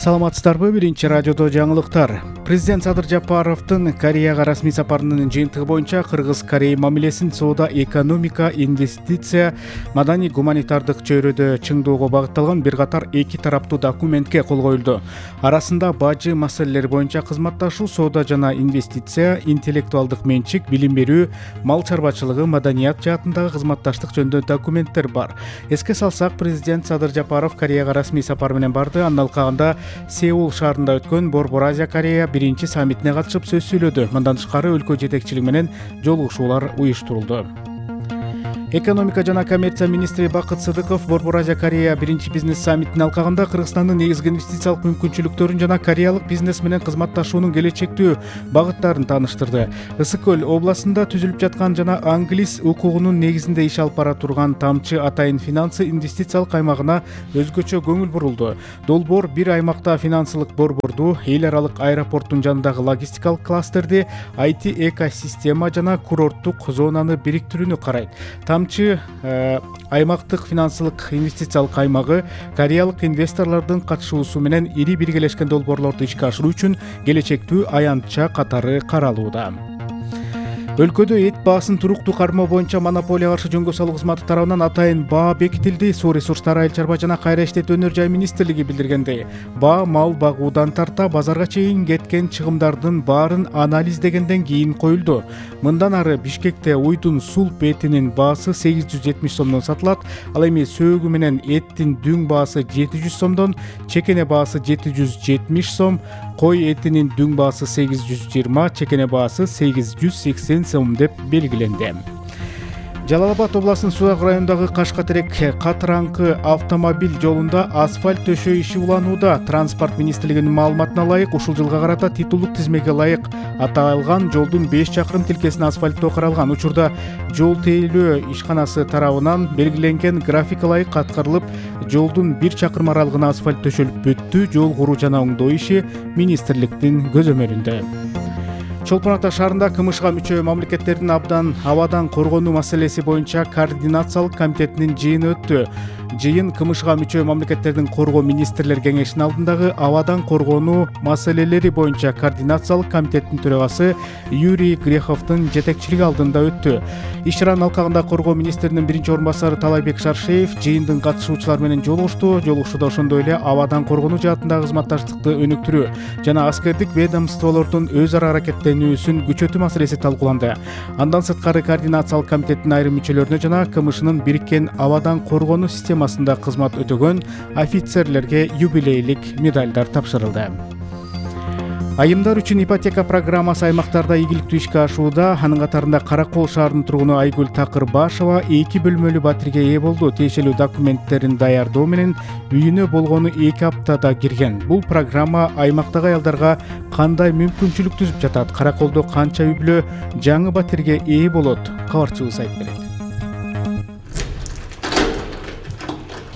Саламатсыздарбы? Биринчи радиодо жаңылыктар. Президент Садыр Жапаровдун Кореяга расмий сапарынын жыйынтыгы боюнча Кыргыз-Корея мамилесин соода, экономика, инвестиция, маданий гуманитардык чөйрөдө чыңдоого багытталган бир катар эки тараптуу документке кол коюлду. Арасында бажы маселелери боюнча кызматташуу, соода жана инвестиция, интеллектуалдык менчик, билим берүү, мал чарбачылыгы, маданият жаатындагы кызматташтык жөнүндө документтер бар. Эске салсак, президент Садыр Жапаров Кореяга расмий сапар менен барды. Андан алкагында Сеул шаарында өткөн Борбор Азия Корея биринчи саммитине катышып сөз сүйлөдү. Мындан тышкары өлкө жетекчилиги менен жолугушуулар уюштурулду. Экономика жана коммерция министри Бакыт Сыдыков Борбор Азия Корея биринчи бизнес саммитинин алкагында Кыргызстандын негизги инвестициялык мүмкүнчүлүктөрүн жана кореялык бизнес менен кызматташуунун келечектүү багыттарын тааныштырды. Ысык көл областында түзүлүп жаткан жана англис укугунун негизинде иш алып бара турган Тамчы Атайын финансы инвестициялык аймагына өзгөчө көңүл бурулду. Долбоор бир аймакта финансылык борборду, эл аралык аэропорттун жанындагы логистикалык кластерди, IT экосистема жана курорттук зонаны бириктирүүнү карайт. Тамчы аймактык финансылык инвестициялык аймагы кореялык инвесторлордун катышуусу менен ири биргелешкен долбоорлорду ишке ашыруу үчүн келечектүү аянтча катары каралууда. Өлкөдө эт баасын туруктуу кармоо боюнча монополияга каршы жөнгө салуу кызматы тарабынан атайын баа бекитилди. Суу ресурстары, айыл чарба жана кайра иштетүү өнөр жай министрлиги билдиргендей, баа мал багуудан тарта базарга чейин кеткен чыгымдардын баарын анализдегенден кийин коюлду. Мындан ары Бишкекте уйдун сулп этинин баасы 870 сомдон сатылат. Ал эми сөөгү менен эттин дүң баасы 700 сомдон, чекене баасы 770 сом, кой этинин дүң баасы 820, чекене баасы 880 сом деп белгиленди. Жалал-Абад областынын Сууак районундагы Кашка-Терек Катыраңкы автомобиль жолунда асфальт төшөө иши уланууда. Транспорт министрлигинин маалыматына ылайык, ушул жылга карата титулдук тизмеге ылайык аталган жолдун 5 чакырым тилкесин асфальттоо каралган. Учурда жол тейлөө ишканасы тарабынан белгиленген график ылайык аткарылып, жолдун 1 чакырым аралыгына асфальт төшөлүп бүттү. Жол куруу жана оңдоо иши министрликтин көзөмөлүндө. Чолпон Ата шаарында КМШга мүчө мамлекеттердин абадан коргонуу маселеси боюнча координациялык комитетинин жыйыны өттү. Жыйын КМШга мүчө мамлекеттердин коргоо министрлер кеңешинин алдындагы абадан коргонуу маселелери боюнча координациялык комитеттин төрагасы Юрий Греховдун жетекчилиги алдында өттү. Иш чаранын алкагында коргоо министринин биринчи орун басары Талайбек Шаршеев жыйындын катышуучулары менен жолугушту. Жолугушууда ошондой эле абадан коргонуу жаатындагы кызматташтыкты өнүктүрүү жана аскердик ведомстволордун өз ара аракеттенүүсүн күчөтүү маселеси талкууланды. Андан сырткары координациялык комитеттин айрым мүчөлөрүнө жана КМШнын бириккен абадан коргонуу системасында кызмат өтөгөн офицерлерге юбилейлик медалдар тапшырылды. Айымдар үчүн ипотека программасы аймактарда ийгиликтүү ишке ашууда. Анын катарында Каракол шаарынын тургуну Айгүл Такырбашева 2 бөлмөлүү батирге ээ болду. Тиешелүү документтерин даярдоо менен үйүнө болгону 2 аптада кирген. Бул программа аймактагы аялдарга кандай мүмкүнчүлүк түзүп жатат? Караколдо канча үй бүлө жаңы батирге ээ болот? Кабарчыбыз айтып берет.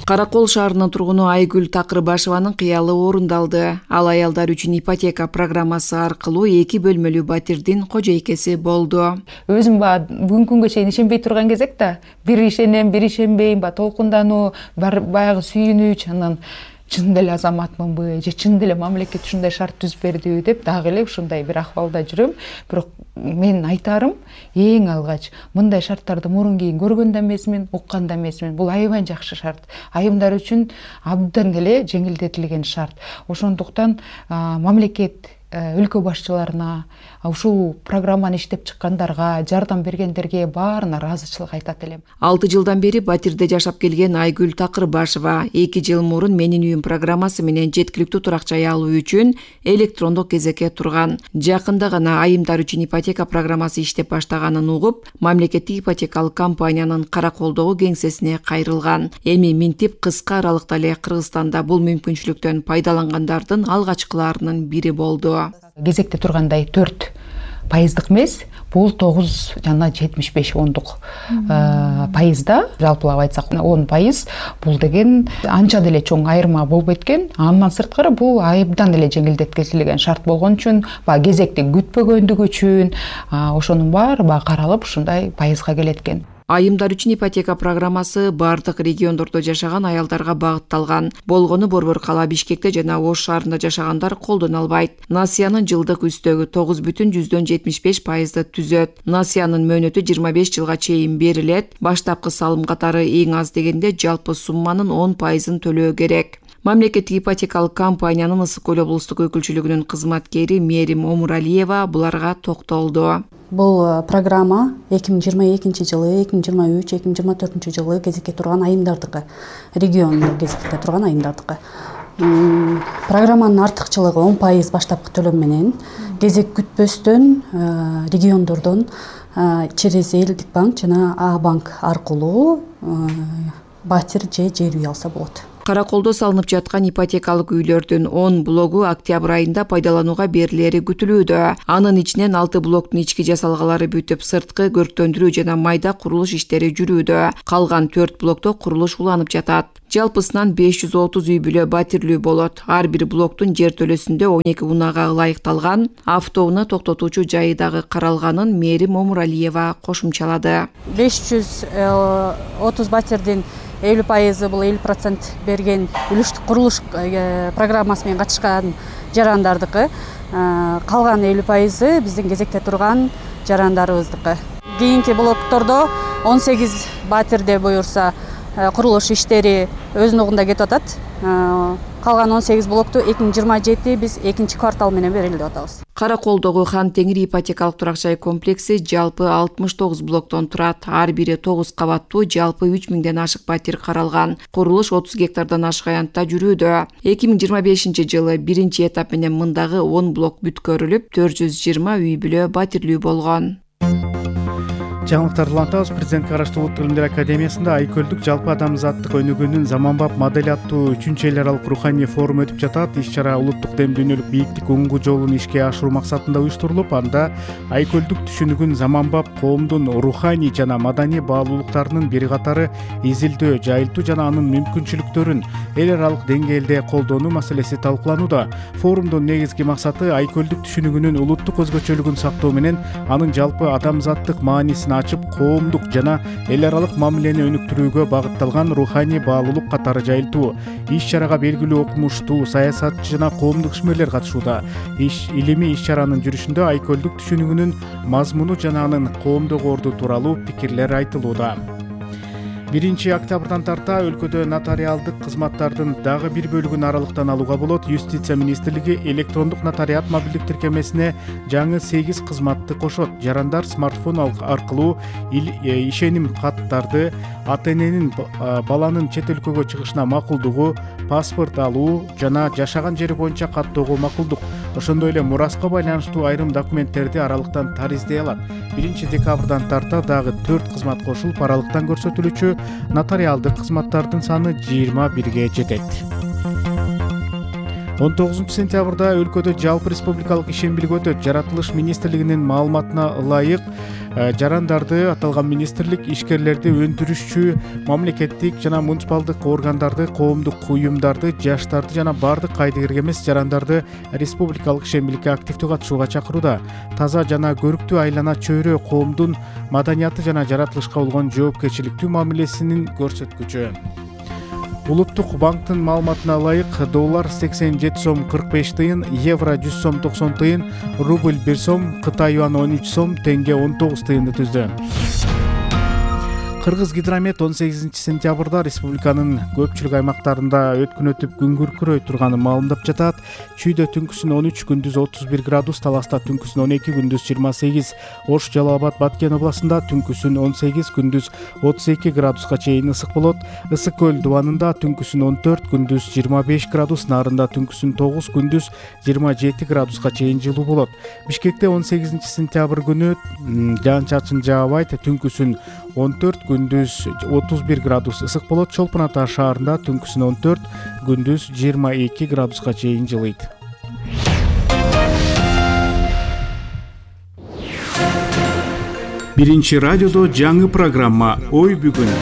Каракол шаарынын тургуну Айгүл Такырбашеванын кыялы орундалды. Ал аялдар үчүн ипотека программасы аркылуу 2 бөлмөлүү батирдин кожойкеси болду. Өзүм бүгүнкү күнгө чейин ишенбей турган кезек да, бир ишенем, бир ишенбейм, толкундануу, баягы сүйүнүч, анан чын эле азаматмынбы же чын эле мамлекет ушундай шарт түзүп бердиби деп дагы эле ушундай бир акыбалда жүрөм. Бирок мен айтарым, эң алгач мындай шарттарды мурун кийин көргөн да эмесмин, уккан да эмесмин. Бул аябай жакшы шарт. Айымдар үчүн абдан эле жеңилдетилген шарт. Ошондуктан мамлекет өлкө башчыларына, ушул программаны иштеп чыккандарга, жардам бергендерге баарына ыраазычылык айтат элем. 6 жылдан бери батирде жашап келген Айгүл Такырбашева 2 жыл мурун Менин үйүм программасы менен жеткиликтүү турак жай алуу үчүн электрондук кезекке турган. Жакында гана айымдар үчүн ипотека программасы иштеп баштаганын угуп, мамлекеттик ипотекалык компаниянын Караколдогу кеңсесине кайрылган. Эми минтип кыска аралыкта эле Кыргызстанда бул мүмкүнчүлүктөн пайдалангандардын алгачкыларынын бири болду. Кезекте тургандай 4% эмес, бул 9 жана 75 ондук пайызда, жалпылап айтсак 10%, бул деген анча деле чоң айырма болбойт экен. Андан сырткары бул айыбдан эле жеңилдетилген шарт болгон үчүн, кезекти күтпөгөндүгү үчүн ошонун баары каралып ушундай пайызга келет экен. Айымдар үчүн ипотека программасы бардык региондордо жашаган аялдарга багытталган. Болгону Борбор кала Бишкекте жана Ош шаарында жашагандар колдоно албайт. Насыянын жылдык үстөгү 9,75% түзөт. Насыянын мөөнөтү 25 жылга чейин берилет. Баштапкы салым катары эң аз дегенде жалпы сумманын 10% төлөө керек. Мамлекеттик ипотекалык компаниянын Ысык Көл облустук өкүлчүлүгүнүн кызматкери Мерим Омуралиева буларга токтолду. Бул программа 2022 жылы, 2023, 2024 жылы кезекке турган айымдардыкы, региондо кезекте турган айымдардыкы. Программанын артыкчылыгы 10% баштапкы төлөм менен кезек күтпөстөн региондордон через Элдик банк жана А банк аркылуу батир же жер үй алса болот. Караколдо салынып жаткан ипотекалык үйлөрдүн 10 блогу октябрь айында пайдаланууга берилери күтүлүүдө. Анын ичинен 6 блоктун ички жасалгалары бүтүп, сырткы көрктөндүрүү жана майда курулуш иштери жүрүүдө. Калган 4 блокто курулуш уланып жатат. Жалпысынан 530 үй бүлө батирлүү болот. Ар бир блоктун жер төлөсүндө 12 унага ылайыкталган, автоунаа токтотуучу жайы дагы каралганын Мерим Омуралиева кошумчалады. 530 батирдин 50% бул 50% берген үлүштүк курулуш программасы менен катышкан жарандардыкы. Калган 50% биздин кезекте турган жарандарыбыздыкы. Кийинки блоктордо 18 батирде буюрса курулуш иштери өзүнүн угунда кетип атат. Калган 18 блокту 2027 биз 2-квартал менен берели деп атабыз. Караколдогу Хан Теңир ипотекалык турак жай комплекси жалпы 69 блоктон турат. Ар бири 9 кабаттуу, жалпы 3000ден ашык батир каралган. Курулуш 30 гектардан ашык аянтта жүрүүдө. 2025 жылы биринчи этап менен мындагы 10 блок бүткөрүлүп, 420 үй бүлө батирлүү болгон. Жаңылыктарды улантабыз. Президентке караштуу Улуттук илимдер академиясында Айкөлдүк жалпы адамзаттык өнүгүүнүн заманбап модели аттуу 3-эл аралык руханий форум өтүп жатат. Иш-чара улуттук дем дүйнөлүк бийиктик уңгу жолун ишке ашыруу максатында уюштурулуп, анда Айкөлдүк түшүнүгүн заманбап коомдун руханий жана маданий баалуулуктарынын бир катары изилдөө, жайылтуу жана анын мүмкүнчүлүктөрүн эл аралык деңгээлде колдонуу маселеси талкууланууда. Форумдун негизги максаты Айкөлдүк түшүнүгүнүн улуттук өзгөчөлүгүн сактоо менен анын жалпы адамзаттык маанисин ачып, коомдук жана эл аралык мамилени өнүктүрүүгө багытталган руханий баалуулук катары жайылтуу. Иш-чарага белгилүү окумуштуу, саясатчы жана коомдук ишмерлер катышууда. Илимий иш-чаранын жүрүшүндө Айкөлдүк түшүнүгүнүн мазмуну жана анын коомдук орду тууралуу пикирлер айтылууда. 1-октябрдан тарта өлкөдө нотариалдык кызматтардын дагы бир бөлүгүн аралыктан алууга болот. Юстиция министрлиги электрондук нотариат мобилдик тиркемесине жаңы 8 кызматты кошот. Жарандар смартфон аркылуу ишеним каттарды, ата-эненин баланын чет өлкөгө чыгышына макулдугу, паспорт алуу жана жашаган жери боюнча каттоого макулдук. Ошондой эле мураска байланыштуу айрым документтерди аралыктан тариздей алат. 1-декабрдан тарта дагы 4 кызмат кошулуп, аралыктан көрсөтүлүүчү нотариалдык кызматтардын саны 21ге жетет. 19 сентябрда өлкөдө жалпы республикалык ишембилик өтөт. Жаратылыш министрлигинин маалыматына ылайык, жарандарды, аталган министрлик ишкерлерди, өндүрүшчү, мамлекеттик жана муниципалдык органдарды, коомдук уюмдарды, жаштарды жана бардык кайдыгерге эмес жарандарды республикалык ишембиликке активдүү катышууга чакырууда. Таза жана көрүктүү айлана чөйрө коомдун маданияты жана жаратылышка болгон жоопкерчиликтүү мамилесинин көрсөткүчү. Улуттук банктын маалыматына ылайык, доллар 87 сом 45 тыйын, евро 100 сом 90 тыйын, рубль 1 сом, Кытай юаны 13 сом, тенге 19 тыйынды түздү. Кыргыз гидромет 18 сентябрда республиканын көпчүлүк аймактарында өткүн өтүп күн күркүрөй турганын маалымдап жатат. Чүйдө түнкүсүн 13, күндүз 31 градус, Таласта түнкүсүн 12, күндүз 28, Ош, Жалал Абад, Баткен областында түнкүсүн 18, күндүз 32 градуска чейин ысык болот. Ысык көл дубанында түнкүсүн 14, күндүз 25 градус, Нарында түнкүсүн 9, күндүз 27 градуска чейин жылуу болот. Бишкекте 18 сентябрь күнү жаан-чачын жаабайт, түнкүсүн 14, күндүз 31 градус ысык болот. Чолпон Ата шаарында түнкүсүн 14, күндүз 22 градуска чейин жылыйт. Биринчи радиодо жаңы программа «Ой бүгүн».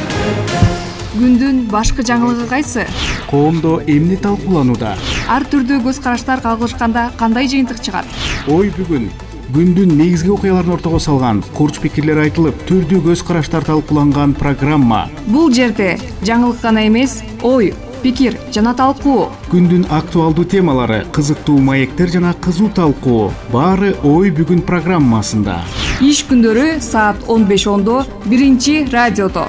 Күндүн башкы жаңылыгы кайсы? Коомдо эмне талкууланууда? Ар түрдүү көз караштар кагылышканда кандай жыйынтык чыгат? Ой бүгүн күндүн негизги окуяларын ортого салган, курч пикирлер айтылып, түрдүү көз караштар талкууланган программа. Бул жерде жаңылык гана эмес, ой, пикир жана талкуу. Күндүн актуалдуу темалары, кызыктуу маектер жана кызуу талкуу. Баары Ой бүгүн программасында. Иш күндөрү саат 15:10 биринчи радиодо.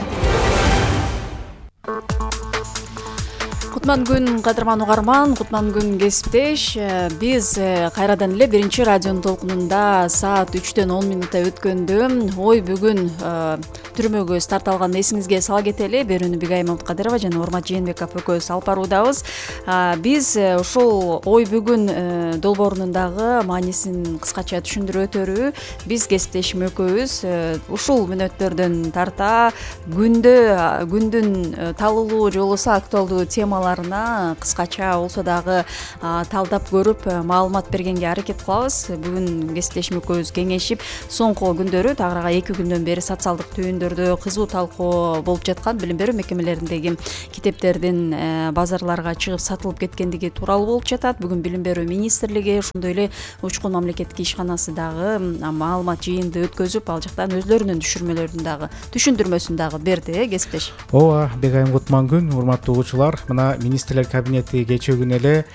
Кутман күн кадырман угарман, кутман күн кесиптеш. Биз кайрадан эле биринчи радионун толкунунда саат 3-төн 10 минутта өткөндө Ой бүгүн түрмөгө старт алган эсиңизге сала кетели. Берүүнү Бигай Маматкадырова жана Урмат Жээнбеков экөөбүз алып баруудабыз. Биз ушул Ой бүгүн долбоорунун дагы маанисин кыскача түшүндүрүп өтөрү. Биз кесиптешим экөөбүз ушул мүнөттөрдөн тарта күндүн талуулуу же болбосо актуалдуу темаларына кыскача болсо дагы талдап көрүп маалымат бергенге аракет кылабыз. Бүгүн кесиптешим экөөбүз кеңешип, соңку күндөрү тагырага 2 күндөн бери социалдык түйүндөрдө кызуу талкуу болуп жаткан билим берүү мекемелериндеги китептердин базарларга чыгып сатылып кеткендиги тууралуу болуп жатат. Бүгүн билим берүү министрлиги, ошондой эле Учкун мамлекеттик ишканасы дагы маалымат жыйынды өткөзүп, ал жактан өзлөрүнүн түшүндүрмөсүн дагы берди. Кесиптеш. Ооба, Бегайым кутман күн, урматтуу угуучулар. Мына министрлер кабинети кечээ күнү эле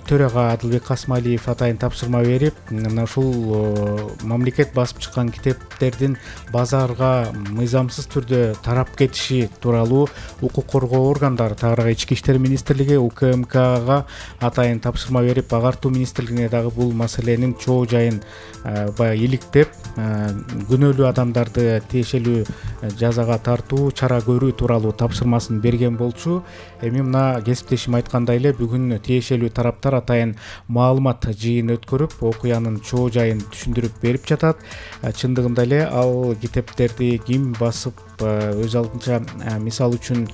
төрага Адылбек Касмалиев атайын тапшырма берип, мына ушул мамлекет басып чыккан китептердин базарга мыйзамсыз түрдө тарап кетиши тууралуу укук коргоо органдары, тагырааga Ички иштер министрлиги УКМКга атайын тапшырма берип, агартуу министрлигине дагы бул маселенин чоо жайын баягы иликтеп, күнөөлүү адамдарды тиешелүү жазага тартуу, чара көрүү тууралуу тапшырмасын берген болчу. Эми мына кесиптешим айткандай эле бүгүн тиешелүү тараптар атайын маалымат жыйын өткөрүп, окуянын чоо жайын түшүндүрүп берип жатат. Чындыгында эле ал китептерди ким басып, өз алдынча мисал үчүн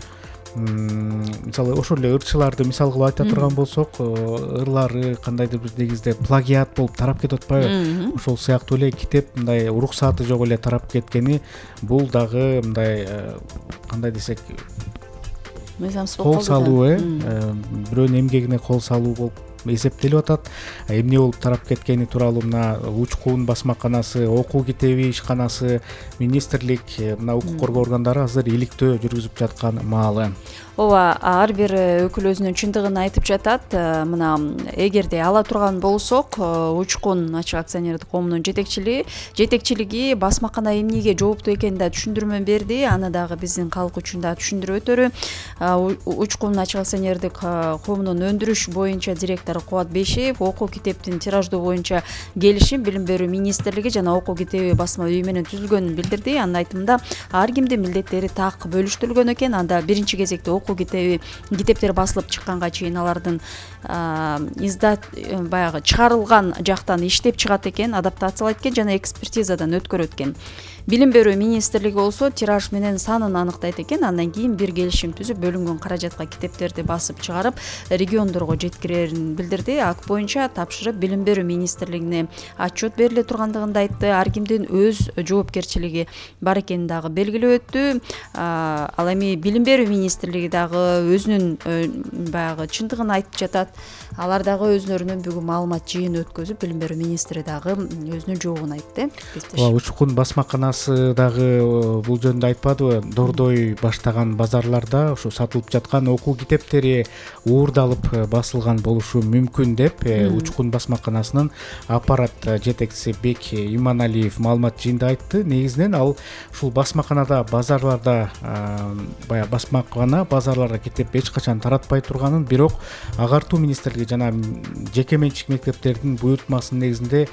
мисалы ошол эле ырчыларды мисал кылып айта турган болсок, ырлары кандайдыр бир негизде плагиат болуп тарап кетип атпайбы? Ошол сыяктуу эле китеп мындай уруксаты жок эле тарап кеткени, бул дагы мындай кандай десек, кол салуу, бирөөнүн эмгегине кол салуу болуп эсептелип атат. Эмне болуп тарап кеткени тууралуу мына Учкун басмаканасы, окуу китеби ишканасы, министрлик, мына укук коргоо органдары азыр иликтөө жүргүзүп жаткан маалы. Ооба, ар бир өкүл өзүнүн чындыгын айтып жатат. Мына эгерде ала турган болсок, Учкун ачык акционердик коомунун жетекчилиги басмакана эмнеге жооптуу экенин да түшүндүрмө берди. Аны дагы биздин калк үчүн да түшүндүрүп өтөрү. Учкун ачык акционердик коомунун өндүрүш боюнча директору Кубат Бейшеев окуу китептин тираждоо боюнча келишим билим берүү министрлиги жана окуу китеби басма үйү менен түзүлгөнүн билдирди. Анын айтымында ар кимдин милдеттери так бөлүштүрүлгөн экен. Анда биринчи кезекте китептер басылып чыкканга чейин алардын баягы чыгарылган жактан иштеп чыгат экен, адаптациялайт экен жана экспертизадан өткөрөт экен. Билим берүү министрлиги болсо тираж менен санын аныктайт экен. Андан кийин бир келишим түзүп, бөлүнгөн каражатка китептерди басып чыгарып, региондорго жеткирерин билдирди. Акт боюнча тапшырып билим берүү министрлигине отчет бериле тургандыгын да айтты. Ар кимдин өз жоопкерчилиги бар экенин дагы белгилеп өттү. Ал эми билим берүү министрлиги дагы өзүнүн баягы чындыгын айтып жатат. Алар дагы өзлөрүнүн бүгүн маалымат жыйын өткөзүп, билим берүү министри дагы өзүнүн жообун айтты. Учкун басмаканасы дагы бул жөнүндө айтпадыбы? Дордой баштаган базарларда ушу сатылып жаткан окуу китептери уурдалып басылган болушу мүмкүн деп Учкун басмаканасынын аппарат жетекчиси Бек Иманалиев маалымат жыйында айтты. Негизинен ал ушул басмаканада базарларда баягы басмакана базарларга китеп эч качан таратпай турганын, бирок агартуу министрлиги жана жеке менчик мектептердин буйртмасынын негизинде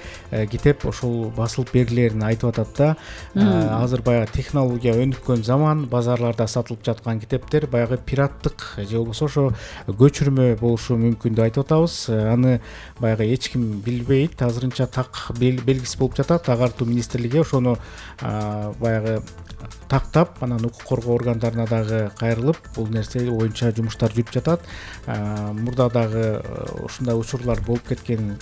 китеп ошол басылып берилерин айтып атат да. Азыр баягы технология өнүккөн заман, базарларда сатылып жаткан китептер баягы пираттык же болбосо ошо көчүрмө болушу мүмкүн деп айтып атабыз. Аны баягы эч ким билбейт, азырынча так белгисиз болуп жатат. Агартуу министрлиги ошону баягы тактап, анан укук коргоо органдарына дагы кайрылып, бул нерсе боюнча жумуштар жүрүп жатат. Мурда дагы ушундай учурлар болуп кеткен,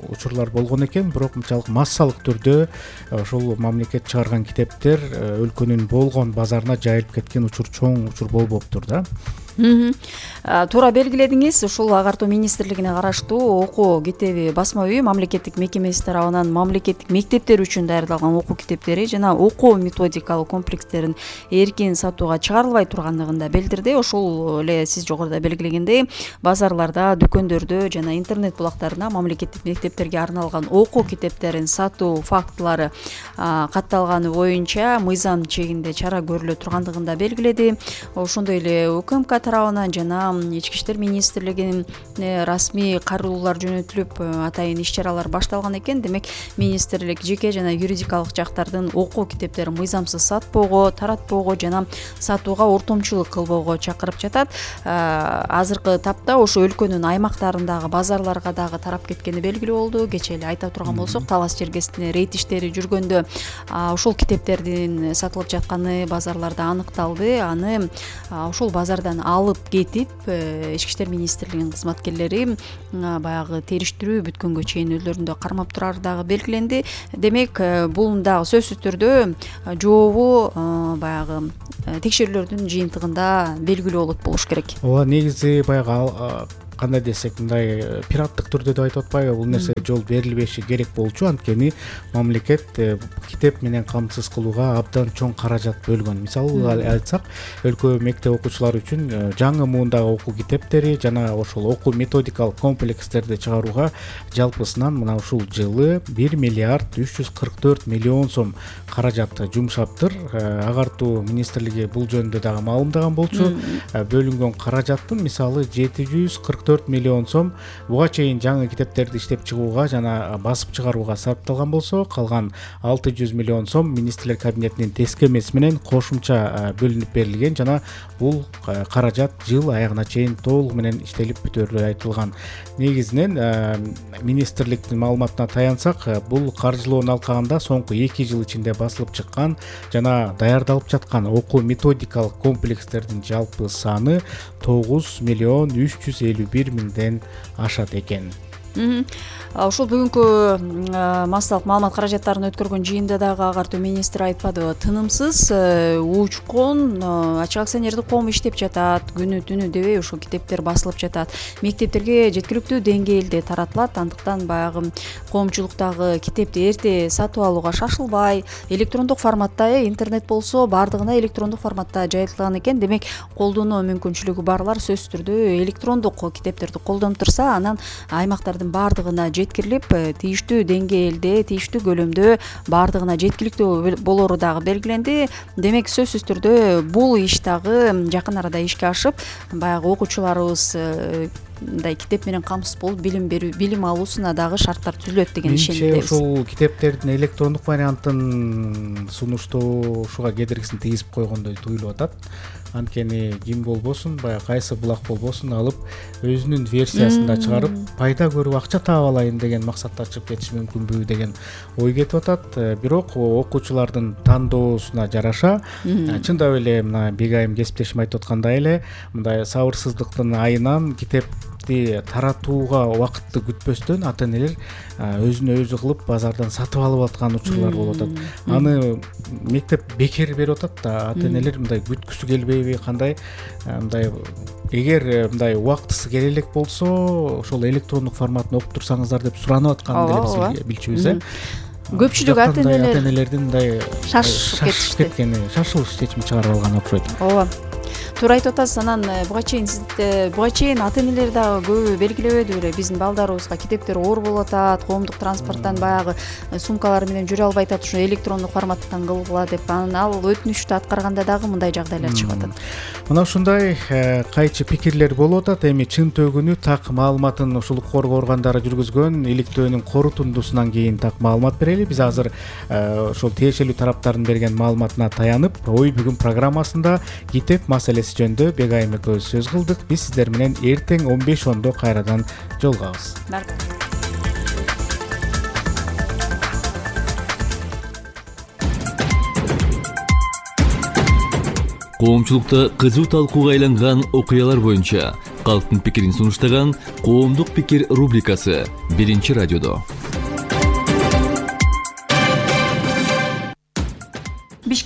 учурлар болгон экен, бирок мынчалык массалык түрдө ошол мамлекет чыгарган китептер өлкөнүн болгон базарына жайылып кеткен учур, чоң учур болбоптур да. Туура белгиледиңиз. Ушул агартуу министрлигине караштуу окуу китеби басма үйү мамлекеттик мекемеси тарабынан мамлекеттик мектептер үчүн даярдалган окуу китептери жана окуу методикалык комплекстерин эркин сатууга чыгарылбай тургандыгын да билдирди. Ошол эле сиз жогоруда белгилегендей базарларда, дүкөндөрдө жана интернет булактарына мамлекеттик мектептерге арналган окуу китептерин сатуу фактылары катталганы боюнча мыйзам чегинде чара көрүлө тургандыгын да белгиледи. Ошондой эле УКМК тарабынан жана Ички иштер министрлигинин расмий кароолуулар жөнөтүлүп атайын иш-чаралар башталган экен. Демек министрлик жеке жана юридикалык жактардын окуу китептерин мыйзамсыз сатпоого, таратпоого жана сатууга ортомчулук кылбоого чакырып жатат. Азыркы тапта ошо өлкөнүн аймактарындагы базарларга дагы тарап кеткени белгилүү болду. Кечээ эле айта турган болсок, Талас Черкесинде рейд иштери жүргөндө ошол китептердин сатылып жатканы базарларда аныкталды. Аны ошол базардан алып кетип Ички иштер министрлигинин кызматкерлери баягы териштирүү бүткөнгө чейин өздөрүндө кармап турары дагы белгиленди. Демек бул дагы сөзсүз түрдө жообу баягы текшерүүлөрдүн жыйынтыгында белгилүү болот болуш керек. Ооба, негизи баягы кандай десек, мындай пираттык түрдө деп айтып атпайбы, бул нерсе жол берилбеши керек болчу. Анткени мамлекет китеп менен камсыз кылууга абдан чоң каражат бөлгөн. Мисалы айтсак, өлкө мектеп окуучулары үчүн жаңы муундагы окуу китептери жана ошол окуу методикалык комплекстерди чыгарууга жалпысынан мына ушул жылы 1 миллиард 344 миллион сом каражат жумшаптыр. Агартуу министрлиги бул жөнүндө дагы маалымдаган болчу. Бөлүнгөн каражаттын мисалы 744 миллион сом буга чейин жаңы китептерди иштеп чыгууга жана басып чыгарууга сарпталган болсо, калган 600 миллион сом министрлер кабинетинин тескемеси менен кошумча бөлүнүп берилген жана бул каражат жыл аягына чейин толугу менен иштелип бүтөөрү айтылган. Негизинен министрликтин маалыматына таянсак, бул каржылоонун алкагында соңку 2 жыл ичинде басылып чыккан жана даярдалып жаткан окуу методикалык комплекстердин жалпы саны 9 миллион 351 миңден ашат экен. Ошол бүгүнкү массалык маалымат каражаттарын өткөргөн жыйында дагы агартуу министри айтпадыбы, тынымсыз учкун ачык акционердик коом иштеп жатат, күнү түнү дебей ушул китептер басылып жатат, мектептерге жеткиликтүү деңгээлде таратылат. Андыктан баягы коомчулуктагы китепти эрте сатып алууга шашылбай, электрондук форматта, интернет болсо баардыгына электрондук форматта жайылтылган экен. Демек колдонуу мүмкүнчүлүгү барлар сөзсүз түрдө электрондук китептерди колдонуп турса, анан аймактардын баардыгына жеткирилип, тийиштүү деңгээлде, тийиштүү көлөмдө баардыгына жеткиликтүү болору дагы белгиленди. Демек сөзсүз түрдө бул иш дагы жакын арада ишке ашып, баягы окуучуларыбыз мындай китеп менен камсыз болуп билим алуусуна дагы шарттар түзүлөт деген ишенимдебиз. Ошол китептердин электрондук вариантын сунуштоо ушуга кедергисин тийгизип койгондой туюлуп атат. Анткени ким болбосун, баягы кайсы булак болбосун алып өзүнүн версиясында чыгарып, пайда көрүп акча таап алайын деген максатта чыгып кетиши мүмкүнбү деген ой кетип атат. Бирок окуучулардын тандоосуна жараша, чындап эле мына Бегайым кесиптешим айтып аткандай эле, мындай сабырсыздыктын айынан китепти таратууга убакытты күтпөстөн ата-энелер өзүнө өзү кылып базардан сатып алып аткан учурлар болуп атат. Аны мектеп бекер берип атат да, ата-энелер мындай күткүсү келбейби, кандай мындай эгер мындай убактысы келе элек болсо, ошол электрондук форматын окуп турсаңыздар деп суранып аткан деле биз билчүбүз. Көпчүлүк ата-энелердин мындай шашып кеткени, шашылыш чечим чыгарып алган окшойт. Ооба. Туура айтып атасыз. Анан буга чейин ата-энелер дагы көбү белгилебеди беле, биздин балдарыбызга китептер оор болуп атат, коомдук транспорттан баягы сумкалар менен жүрө албай атат, ушу электрондук форматтан кылгыла деп. Анан ал өтүнүштү аткарганда дагы мындай жагдайлар чыгып атат. Мына ушундай кайчы пикирлер болуп атат. Эми чын төгүнү так маалыматын ушул коргоо органдары жүргүзгөн иликтөөнүн корутундусунан кийин так маалымат берели. Биз азыр ошол тиешелүү тараптардын берген маалыматына таянып, ой бүгүн программасында китеп маселеси жөнүндө Бегайым экөөбүз сөз кылдык. Биз сиздер менен эртең 15:10 кайрадан жолугабыз. Коомчулукта кызуу талкууга айланган окуялар боюнча калктын пикирин сунуштаган Коомдук пикир рубрикасы 1-радиодо.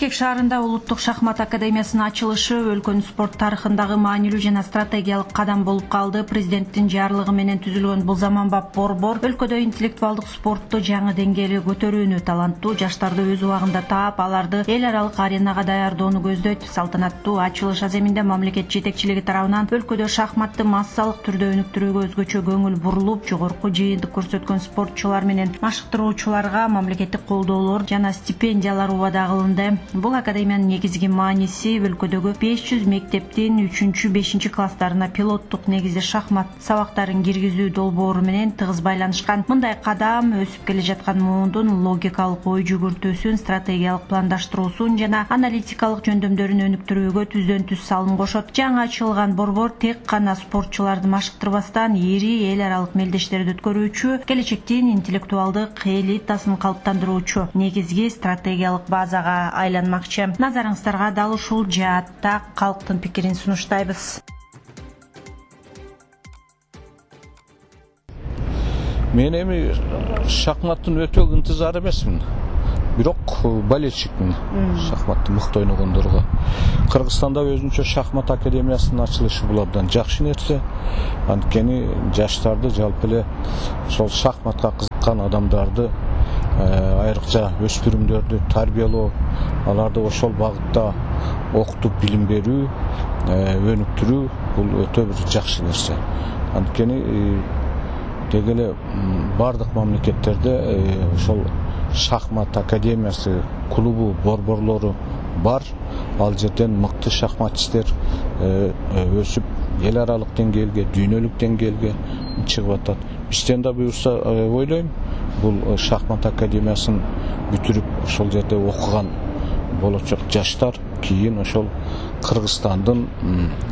Бишкек шаарында улуттук шахмат академиясынын ачылышы өлкөнүн спорт тарыхындагы маанилүү жана стратегиялык кадам болуп калды. Президенттин жарлыгы менен түзүлгөн бул заманбап борбор өлкөдө интеллектуалдык спортту жаңы деңгээлге көтөрүүнү, таланттуу жаштарды өз убагында таап, аларды эл аралык аренага даярдоону көздөйт. Салтанаттуу ачылыш аземинде мамлекет жетекчилиги тарабынан өлкөдө шахматты массалык түрдө өнүктүрүүгө өзгөчө көңүл бурулуп, жогорку жыйынтык көрсөткөн спортчулар менен машыктыруучуларга мамлекеттик колдоолор жана стипендиялар убада кылынды. Бул академиянын негизги мааниси өлкөдөгү 500 мектептин 3-5 класстарына пилоттук негизде шахмат сабактарын киргизүү долбоору менен тыгыз байланышкан. Мындай кадам өсүп келе жаткан муундун логикалык ой жүгүртүүсүн, стратегиялык пландаштыруусун жана аналитикалык жөндөмдөрүн өнүктүрүүгө түздөн түз салым кошот. Жаңы ачылган борбор тек гана спортчуларды машыктырбастан, ири эл аралык мелдештерди өткөрүүчү, келечектин интеллектуалдык элитасын калыптандыруучу негизги стратегиялык базага айланмакчы. Назарыңыздарга дал ушул жаатта калктын пикирин сунуштайбыз. Мен эми шахматтын өтө ынтызар эмесмин. Бирок болельщикмин шахматты мыкты ойногондорго. Кыргызстанда өзүнчө шахмат академиясынын ачылышы бул абдан жакшы нерсе. Анткени жаштарды жалпы эле ошол шахматка кызыккан адамдарды, айрыкча өспүрүмдөрдү тарбиялоо, аларды ошол багытта окутуп билим берүү, өнүктүрүү бул өтө бир жакшы нерсе. Анткени деги эле бардык мамлекеттерде ошол шахмат академиясы, клубу, борборлору бар. Ал жерден мыкты шахматчистер өсүп эл аралык деңгээлге, дүйнөлүк деңгээлге чыгып атат. Бизден да буюрса ойлойм, бул шахмат академиясын бүтүрүп ошол жерде окуган болочок жаштар кийин ошол Кыргызстандын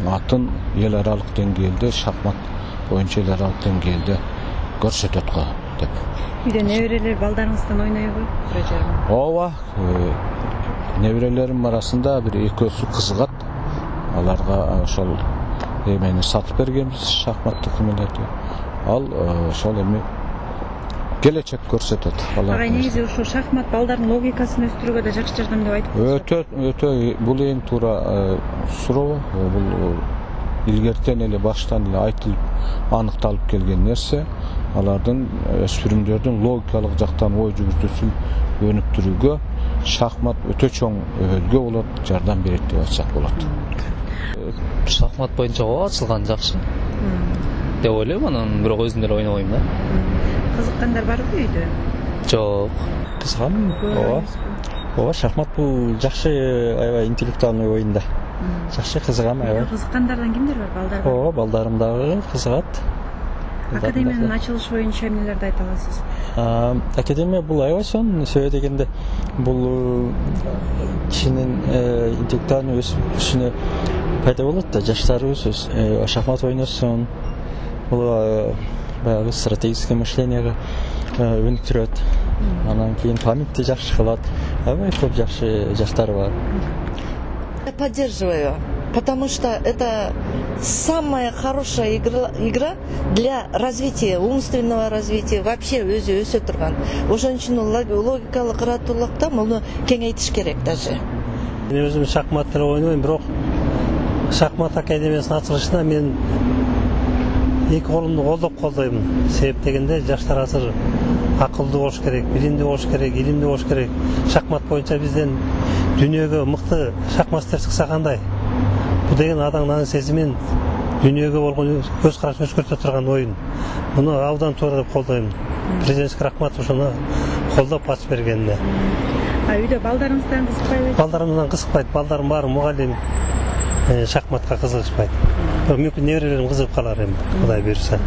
атын эл аралык деңгээлде, шахмат боюнча эл аралык деңгээлде көрсөтөт го деп. Үйдө неберелер балдарыңыздан ойнойбу? Ооба, неберелерим арасында бир экөөсү кызыгат. Аларга ошол эмени сатып бергенбиз, шахматтык эмелерди. Ал ошол эми келечек көрсөтөт. Ага, негизи ушул шахмат балдардын логикасын өстүрүүгө да жакшы жардам деп айтып жатасыз. Өтө бул эң туура суроо. Бул илгертен эле баштан эле айтылып, аныкталып келген нерсе. Алардын өспүрүмдөрдүн логикалык жактан ой жүгүртүүсүн өнүктүрүүгө шахмат өтө чоң өбөлгө болот, жардам берет деп айтсак болот. Шахмат боюнча ачылган жакшы деп ойлойм, анан бирок өзүм деле ойнобойм да. Кызыккандар барбы үйдө? Жок. Кызыгам. Ооба, шахмат бул жакшы, аябай интеллектуальный оюн да. Жакшы кызыгам, аябай. Кызыккандардан кимдер бар, балдар бар? Ооба, балдарым дагы кызыгат. Академиянын ачылышы боюнча эмнелерди айта аласыз? Академия бул аябай сонун, себеби дегенде бул кишинин интеллектуальный өсүшүнө пайда болот да, жаштарыбыз шахмат ойносун. Бул баягы стратегическое мышлениеге өнүктүрөт. Анан кийин памятти жакшы кылат. Аябай көп жакшы жаштар бар. Я поддерживаю, потому что это самая хорошая игра для развития, умственного развития, вообще өзү өсө турган. Ошон үчүн логикалык ыраттуулукта муну кеңейтиш керек даже. Мен өзүм шахмат деле ойнойм, бирок шахмат академиясынын ачылышына мен эки колумду колдоп колдойм. Себеп дегенде жаштар азыр акылдуу болуш керек, билимдүү болуш керек, илимдүү болуш керек. Шахмат боюнча бизден дүйнөгө мыкты шахматчылар чыкса кандай? Бул деген адамдын сезимин дүйнөгө болгон көз карашын өзгөртө турган оюн. Муну абдан туура деп колдойм. Президентке рахмат ушуну колдоп ачып бергенине. Үйдө балдарыңыздан кызыкпайбы? Балдарымдан кызыкпайт. Балдарым баары мугалим, шахматка кызыгышпайт. Мүмкүн неберелерим кызыгып калар эми, Кудай буйрса.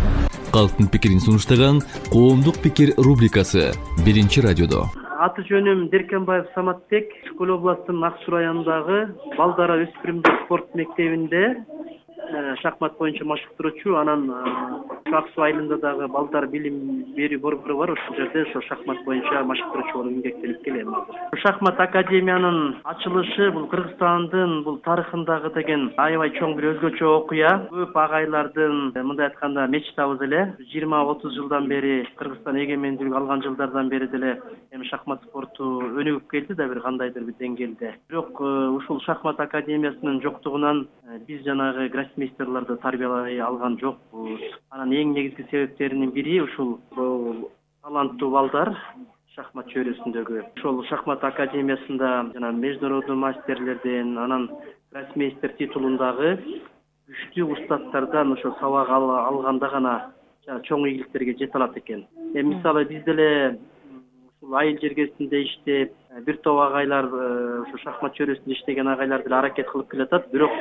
Калктын пикирин сунуштаган Коомдук пикир рубрикасы 1 радиодо. Аты жөнүм Деркенбаев Саматбек, Ишкөл областынын Ак Суу районундагы балдар өспүрүмдөр спорт мектебинде шахмат боюнча машыктыруучу, анан ак суу айылында дагы балдар билим берүү борбору бар. Ошол жерде ошо шахмат боюнча машыктыруучу болуп эмгектенип келем азыр. Шахмат академиянын ачылышы бул Кыргызстандын бул тарыхындагы деген аябай чоң бир өзгөчө окуя. Көп агайлардын мындай айтканда мечтабыз эле. 20-30 жылдан бери Кыргызстан эгемендүүлүк алган жылдардан бери деле эми шахмат спорту өнүгүп келди да бир кандайдыр бир деңгээлде. Бирок ушул шахмат академиясынын жоктугунан биз жанагы гроссмейстерлерди тарбиялай алган жокпуз. Анан эң негизги себептеринин бири ушул таланттуу балдар шахмат чөйрөсүндөгү. Ошол шахмат академиясында жана международный мастерлерден, анан гроссмейстер титулундагы күчтүү устаттардан ошо сабак алганда гана чоң ийгиликтерге жете алат экен. Мисалы биз деле ушул айыл жергесинде иштеп, бир топ агайлар ушу шахмат чөйрөсүндө иштеген агайлар деле аракет кылып келатат. Бирок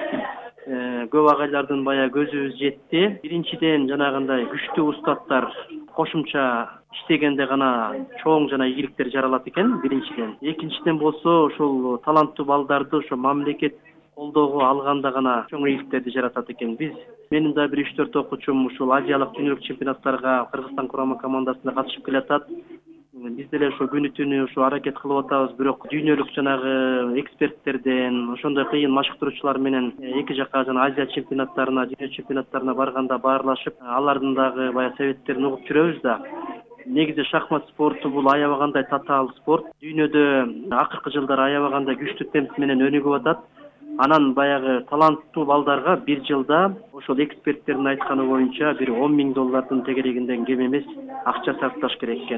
көп агайлардын баягы көзүбүз жетти. Биринчиден жанагындай күчтүү устаттар кошумча иштегенде гана чоң жана ийгиликтер жаралат экен биринчиден. Экинчиден болсо ошол таланттуу балдарды ошо мамлекет колдоого алганда гана чоң ийгиликтерди жаратат экен. Менин да бир 3-4 окуучум ушул азиялык дүйнөлүк чемпионаттарга Кыргызстан курама командасына катышып келатат. Биз деле ошо күнү түнү ошо аракет кылып атабыз, бирок дүйнөлүк жанагы эксперттерден, ошондой кыйын машыктыруучулар менен эки жака жана Азия чемпионаттарына, дүйнө чемпионаттарына барганда баарлашып, алардын дагы баягы советтерин угуп жүрөбүз да. Негизи шахмат спорту бул аябагандай татаал спорт. Дүйнөдө акыркы жылдары аябагандай күчтүү темп менен өнүгүп атат. Анан баягы таланттуу балдарга бир жылда ошол эксперттердин айтканы боюнча бир $10,000 тегерегинден кем эмес акча сарпташ керек экен.